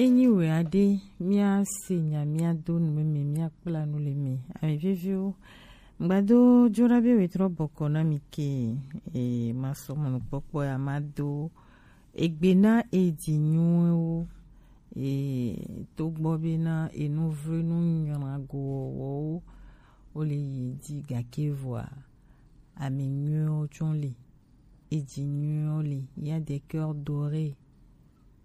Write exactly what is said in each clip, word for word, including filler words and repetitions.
Enyi wɛ aɖe, míase nya, míado nu meme, míakpla nu le me. Ame veviwo, ŋgbado joɖa be wetrɔ bɔkɔ na mi ke, e, masɔ mɔnukpɔkpɔ ya mado egbe na edzinyuiwo, e, togbɔ bena enuvlinu nyrago wɔwɔwo wole yi dzi, gake vɔa, ame nyuiwo tsɔ le, edzinyuiwo le, il y a des cœurs dorés,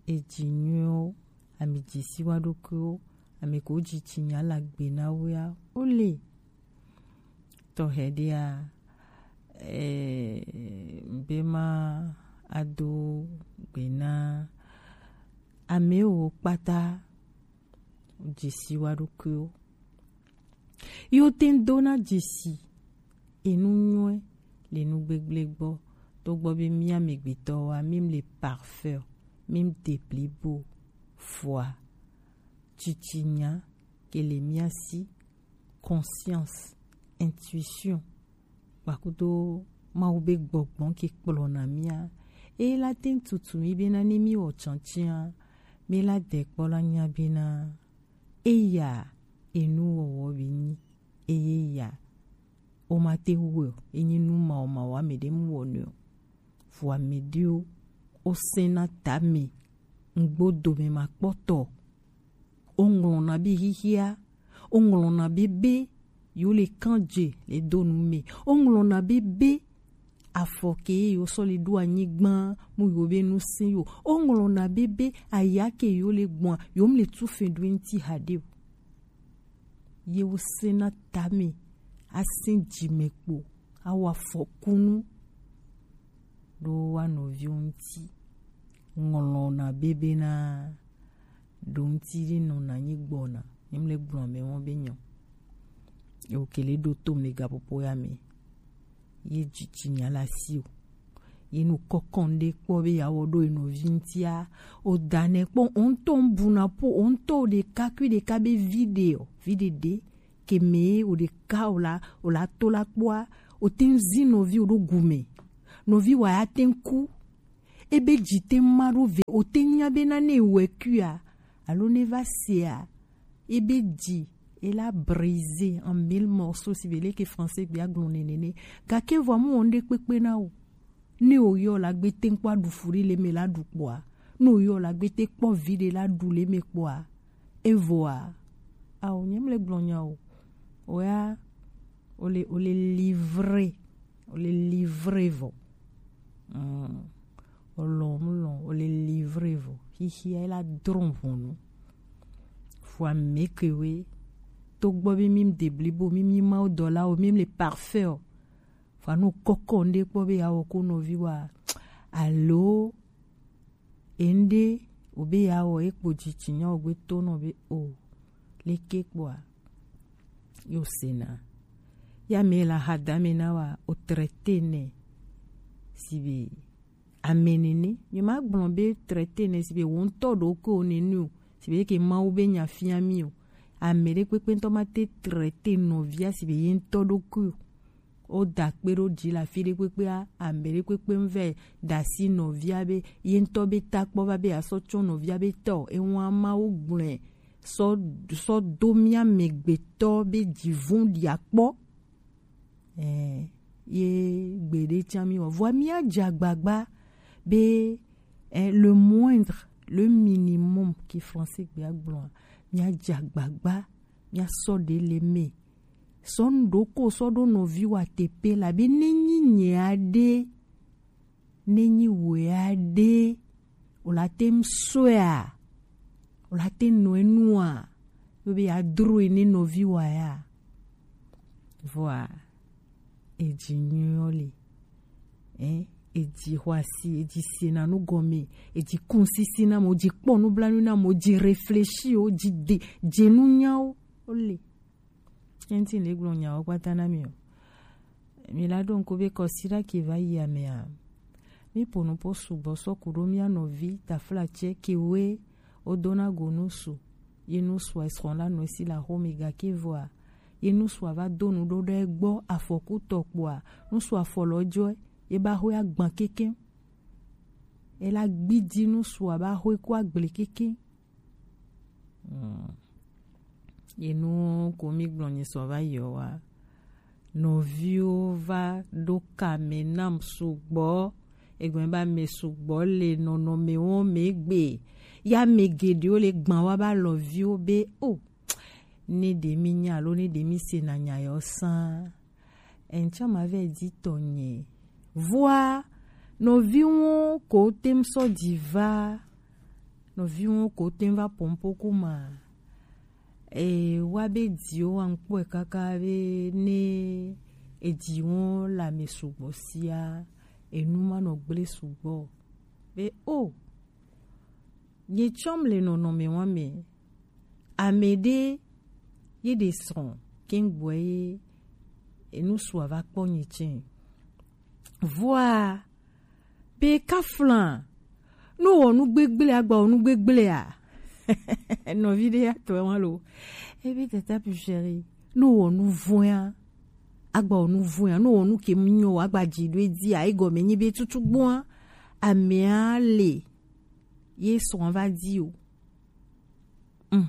edzinyuiwo, ame dzesi wa ɖokuiwo, ame ko dzitsinya le agbe na wo ya, wole. Tɔxɛ ɖea, eh, be ma ado gbe na amewo kpata, dzesi wa ɖokuiwo. Yo te ŋ dona dzesi enu nyuie le nu gbegble gbɔ, togbɔ be mía amegbetɔwoa, mí le parfait, mí de blibo, vɔa, tsitsinya ke le mía si, conscience, intuition, kpakudo Mawu be gbɔgbɔ ke kplɔna mía. Eye la te ŋ tutu mí bena ne mí wɔ tsantsia, mí la de kpɔ la nya bena eya enu wɔwɔ be nyi, eye ya o ma te wɔ, enyi nu ma o ma wɔ ame ɖe mu wɔ nɛ o. Vɔ ame ɖewo o sɛna tame, ŋgbo dome ma kpɔtɔ. Woŋlɔna be xixia, woŋlɔna be be yewo le kan dze le do nu me. Woŋlɔna be be afɔ ke yewo sɔ le ɖo anyigba mu yewo be nu se yo. Woŋlɔna be be aya ke yewo le gbɔn, yewo mu le tu fe ɖo ŋti haɖe o. Yewo sena tame, asin dzime kpo, awɔ afɔkunu ɖo wa nɔviwo ŋti. Ŋlɔna be be na ɖo ŋti ɖe nɔna anyi gbɔna, nyemle gblɔ ame wɔn be nyɔ. Ewo kele ɖo to me gaƒoƒo ya me. Ye dzitsinya la si o. Ye nu kɔkɔn ɖe kpɔ be ya wɔ ɖo enɔvi ŋtia. O da nɛ kpɔ, o ŋtɔ ŋbuna po, o ŋtɔ o ɖeka kui ɖeka be vi ɖe o, vi ɖe ɖe. Ke me o ɖeka o la, o la to la kpɔa, o te ŋ zi nɔvi o ɖo gume. Nɔvi wa ya te ŋ ku. Ebe dzi te ma ɖo ve, o te nya be na ne wɛ kuia, alo ne va sea, ebe dzi, e la brisé en mille morceaux, si be leke français gbia gblɔ nene ne. Gake vɔ mu wɔn ɖe kpekpe na o. Ne o yɔ la gbe te kpɔ aɖu fu ɖe le me la ɖu kpɔa, ne o yɔ la gbe te kpɔ vi ɖe la ɖu le me kpɔa, evɔa, ao, nyem le gblɔ nya o. O ya, o le, o le livré, o le livré vɔ. Mm. Olɔn, olɔn, o le livre vɔ. Xixia la drɔn ʋɔnu. Fua meke we. To gbɔ be mi de blibo, mi mi ma o dɔ la o, mi le parfait o. Fua no kɔkɔ nde kpɔ be ya wɔ ko nɔvi wa. Alo, ende, o be ya wɔ, e kpo dzitsinya o gbe to nɔ be o. Leke kpɔa? Yo sena. Ya me la hadame na wa, o traité nɛ. Si be ame nene, mi ma gblɔ be traité nɛ si be wo ŋutɔ ɖo ko nene o, si be ke Mawu be nya fia mi o. Ame ɖe kpekpe ŋutɔ ma te traité nɔvia si be ye ŋutɔ ɖo ko o. O da kpe ɖo dzi le afi ɖe kpekpea, ame ɖe kpekpe ŋvɛ da si nɔvia be ye ŋutɔ be ta kpɔ va be asɔ tsɔ nɔvia be tɔ. Ewa Mawu gblɔe sɔ, sɔ do mia megbetɔ be dzi vɔ̃ɖia kpɔ. Eh, ye gbeɖe tsã mi wɔ. Vɔa mia dze agbagba be, eh, le moindre, le minimum ke français gbea gblɔa, mia dze agbagba, mia sɔ ɖe le me. Sɔ nu ɖo ko sɔ ɖo nɔvi wa tepe la be ne nyi nye aɖe, ne nyi wea ɖe, o la te ŋu sɔea, o la te ŋu nɔe nua, yo be ya dro ne nɔvi wa ya. Vɔa, edzi nyuiɔ le. Hein? Edzi xɔ asi, edzi sena nu gɔme, edzi kun sisi na mo, edzi kpɔ nublanui na mo, edzi réfléchi o, edzi de, dze nu nyawo, o le. Enti le gblɔ nyawo kpata na mi o. Mi la ɖo ŋku be kɔsiɖa ke va yi amea. Mi ƒo nu po sugbɔ sɔ ku ɖo mia nɔvi taflatsɛ ke woe wodona go nusu. Ye nusua esrɔ̃ la nɔ esi le axome gake vɔa, ye nusua va do nu ɖo ɖe egbɔ afɔku tɔ kpoa, nusua fɔ lɔ jɔe, ye ba hoe agban keke. Ela gbidi nusua ba hoe ko agble keke. Mm. Enu ko mi gblɔ nyisɔ va yi ɔ wa, nɔviwo va ɖo kame nam sugbɔ. Egɔme ba me sugbɔ le nɔnɔme wo me gbe. Ya me geɖewo le gban wa ba lɔviwo be o, ne ɖe mi nya alo ne ɖe mi se na nya yɔ san. Etsɔ ma vɛ di tɔnyɛ. Vɔa, nɔviwo ko tem sɔ di va. Nɔviwo ko tem va pɔnpo kuma. E wa be diwo wa ŋkpɔe kaka be ne ediwo la me sugbɔ sia, enu ma nɔ gble sugbɔ. Be o, nye tsɔm le nɔnɔme wa me. Ame ɖe ye ɖe srɔ̃ kengboe ye enu sua va kpɔ nye tsɛ. Vɔa, be kafla, no wɔ nu gbegble agba wɔ nu gbegble a? Nɔvi ɖe ya tɔ wa lo. Ebe tata pu chéri, no wɔ nu vɔa, agba wɔ nu vɔa, no wɔ nu ke mu nyɔ agba dzi ɖo edi a, egɔme nyi be tutu gbɔa, amea le ye srɔ̃ va di o. Mm.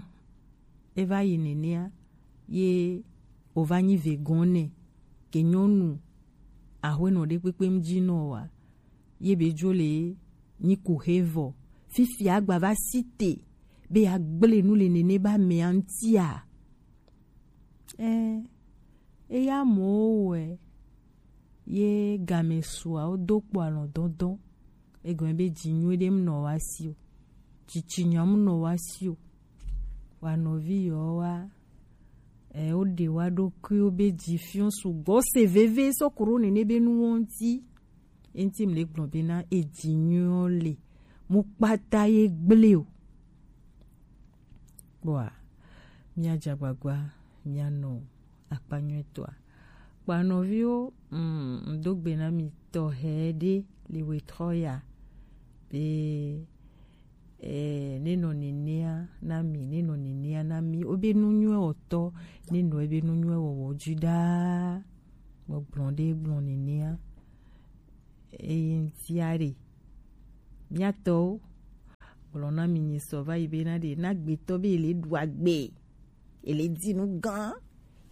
E va yi nenea, ye o va nyi ve gɔn nɛ, ke nyɔnu ahwenɔ ɖe kpekpe mu dzi nɔ wa, ye be dzo le nyi ku he vɔ. Fifi agba va si te, be ya gble nu le nene ba mea ŋutia. Ɛ, eya mɔwo wɛ ye game sua wo do kpɔ alɔ dɔdɔ. Egɔme be dzi nyuie ɖe mu nɔ wa si o. Tsitsi nya mu nɔ wa si o. Wa nɔvi yɔ wa, ɛ, wo ɖe wa ɖokuiwo be dzi fiɔ sugbɔ se veve sɔ kuro nene be nu wo ŋuti. Eŋuti mu le gblɔ be na edzi nyuie le mu kpata ye gble o. Kpɔa, míadze agbagba míanɔ akpa nyuitɔa. Kpɔa nɔviwo, mm, ŋdo gbe na mi tɔxɛ ɖe le wetrɔ ya be, eh, nenɔ nenea na mi, nenɔ nenea na mi. Wobe nu nyuie wɔtɔ, nenɔ ebe nu nyuie wɔwɔ dzi ɖaa. Gbɔgblɔ ɖe gblɔ nenea. Eye ŋutia ɖe, míatɔwo gblɔ na mi nyisɔ va yi be na ɖe na gbetɔ be ele ɖu agbe, ele di nu gã,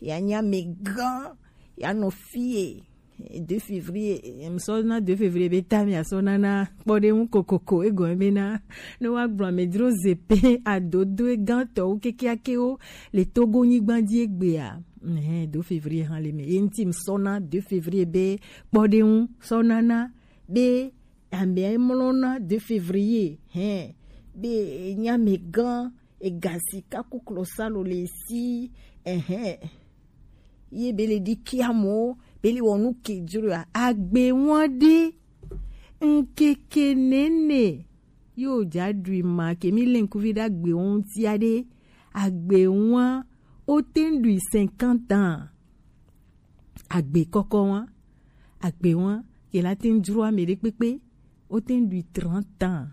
ya nya me gã, ya nɔ fie. Deux février, em sɔ na deux février be ta mi asɔ na na kpɔ ɖe ŋu kokoko egɔme be na ne wa gblɔ amedzro zepe adodo gãtɔwo kekeakewo le Togo nyigba dzi egbea. Ɛhɛn, deux février hã le me. Ye ŋuti mi sɔ na deux février be kpɔ ɖe ŋu sɔ na na be amea mlɔna deux février, hɛn, be enya me gã, ega sika ku klosalo le si, ɛhɛn. Ye be le ɖi kia mɔ, be le wɔ nu ke dzro ya. Agbe ŋua ɖe, ŋkeke nene, yo dza ɖui ma, ke mi le ŋkuvi ɖe agbe ŋutia ɖe, agbe ŋua, o te ŋ ɖui cinquante ans. Agbe kɔkɔ wa, agbe wa, ke la te ŋ dzro ame ɖe kpekpe, o te ŋ ɖui trente ans.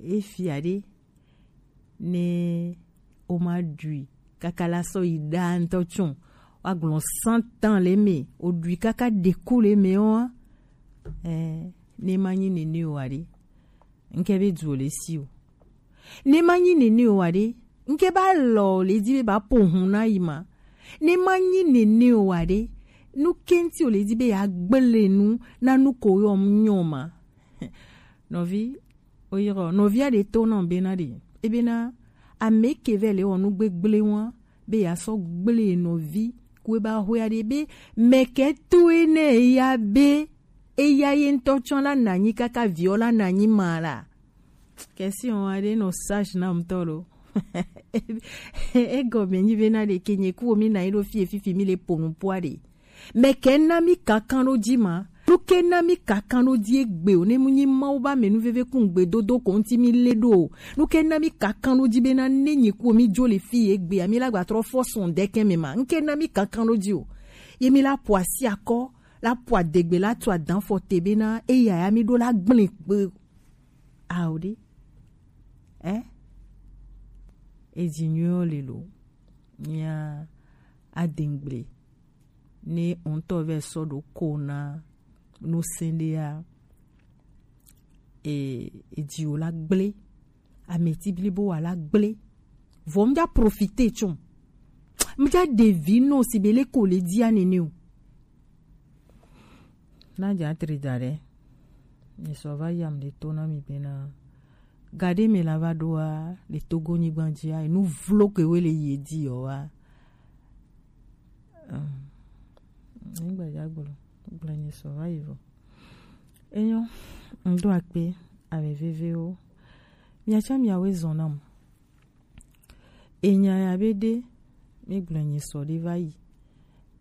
Efia ɖe, ne o ma ɖui kaka la sɔ yi ɖa ŋutɔ tsɔ, wa gblɔ cent ans le me, o ɖui kaka ɖe ku le me wa, eh, ne ma nyi nene o wa ɖe. Ŋke be du o le si o. Ne ma nyi nene o wa ɖe, ŋke ba lɔ o le di be ba po hun na yi ma. Ne ma nyi nene o wa ɖe, nu ke ŋuti o le di be ya gble nu na nu ko yɔ mu nyɔ ma. Nɔvi, o yɔ nɔvi a ɖe to na be na ɖe. Ebe na ame ke vɛ le wɔ nu gbegble wa, be ya sɔ gble nɔvi ku e ba hwe a ɖe be mɛkɛ to e ne ya be eya ye ŋutɔ tsɔ la nanyi kaka viɔ la nanyi ma la. Question aɖe nɔ sage na ŋutɔ lo. Egɔme nyi be na ɖeke nye ku mi na yi ɖo fie fifi mi le po nu po aɖe. Mɛkɛ na mi kankan ɖo dzi ma. Nu ke na mi kankan ɖo dzi egbe o, ne mu nyi Mawu ba me nu veve kun gbe dodo ko ŋuti mi le ɖo o. Nu ke na mi kankan ɖo dzi be na ne nyi ku mi dzo le fi egbe a mi la gba trɔ fɔ sɔn ɖeke me ma. Nu ke na mi kankan ɖo dzi o. Ye mi la po asi akɔ, la po adegbe la tu adan fɔ te be na eya ya mi ɖo la gblẽ kpe. Ao ɖe. Eh? Edzi nyuiɔ le lo. Mia adengble. Ne ŋutɔ vɛ sɔ ɖo ko na nu sɛn ɖea, e, edzi wo la gblẽ. Ameti blibo wa la gble. Vɔ mi ja profiter tsɔ. Mi ja ɖe vi nɔ si be le ko le dia nene o. Na ja tri da ɖe. Mi sɔ va yam ɖe to na mi bena. Gaɖe me la va ɖoa le Togo nyigba dzia, enu vlo ke we le yi di yɔ wa. Nyigba ja gblɔ, gblɔ nyi sɔ va yi vɔ. Enyo, ŋdo akpe, ame vevewo. Miatsɔ miawoe zɔn nam. Enya ya be ɖe, mi gblɔ nyi sɔ ɖe va yi.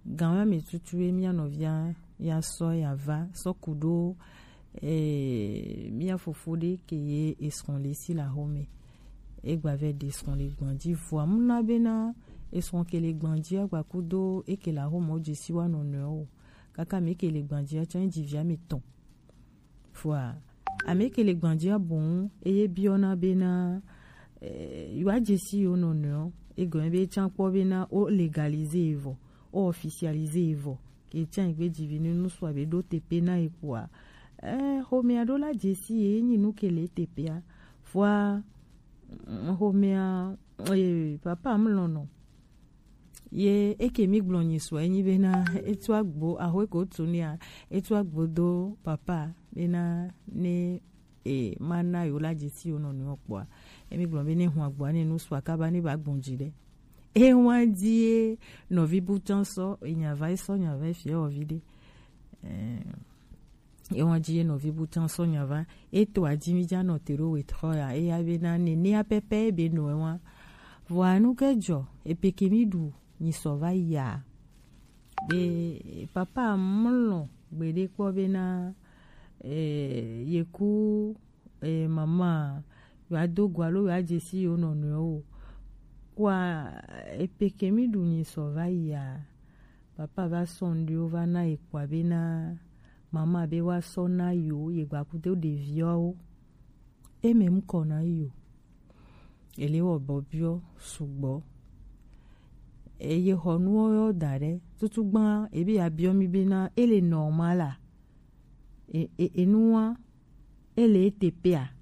Gan wa me tutu ye mia nɔvia ya sɔ ya va, sɔ ku ɖo, eh, mia fofo ɖe ke ye esrɔn le si la xɔme. Egba vɛ ɖe esrɔn le gbanji. Vɔa mu na bena esrɔn ke le gbanji agba kudo eke la xɔme o jesi wa nɔnɔe o. Kaka mi ke le gbanji a tsɔ ji via mi tɔn. Vɔa, ame ke le gbanjia boŋ, eye biɔna bena, eh, yewoa dze si yewo nɔnɔewo. Egɔme be tsã kpɔ bena wo légaliser ye vɔ, wo officialiser ye vɔ. Ke tsã yi gbe dzivi ne nusua be ɖo teƒe na ye kpoa, eh, xomea ɖo la dze si ye, ye nyi nu ke le teƒea. Vɔa, mm, xomea, eh, papa mlɔnɔ. Ye eke mi gblɔ nyi sɔ enyi bena etu agbo, axwe ko tu nia, etu agbo do papa bena ne e ma na yo la dze si yo nɔ nuyɔ kpɔa. Emi gblɔ be ne hun agboa ne nu sɔ akaba ne ba gbɔn dzi ɖe. E wa di ye nɔvi bu tɔn sɔ, e nya va sɔ nya va fia wɔ vi ɖe. Eh, Ewa dzi ye nɔvi bu tɔn sɔ nya va. Eto adzi mi dza nɔ te ɖo wetɔ ya. Eya be na nene ya pɛpɛ be nɔ ewa. Vɔa nu ke dzɔ, epeke mi ɖu nyi sɔ va ya. Be papa mlɔ gbeɖe kpɔ be na, eh, ye ku, eh, mama yo ado go alo yo adze si yo nɔnɔewo o. Kua epeke mi ɖu nyi sɔ va ya. Papa va sɔ ŋɖewo va na ye kpɔa be na mama be wa sɔ na yo ye gba kudo ɖeviawo. Eme ŋkɔ na yo. Ele wɔ bɔbiɔ sugbɔ. Eye xɔ nuwo yɔ da ɖe. Tutu gba ebe ya biɔ mi be na ele normal a. E, e, enua ele eteƒea.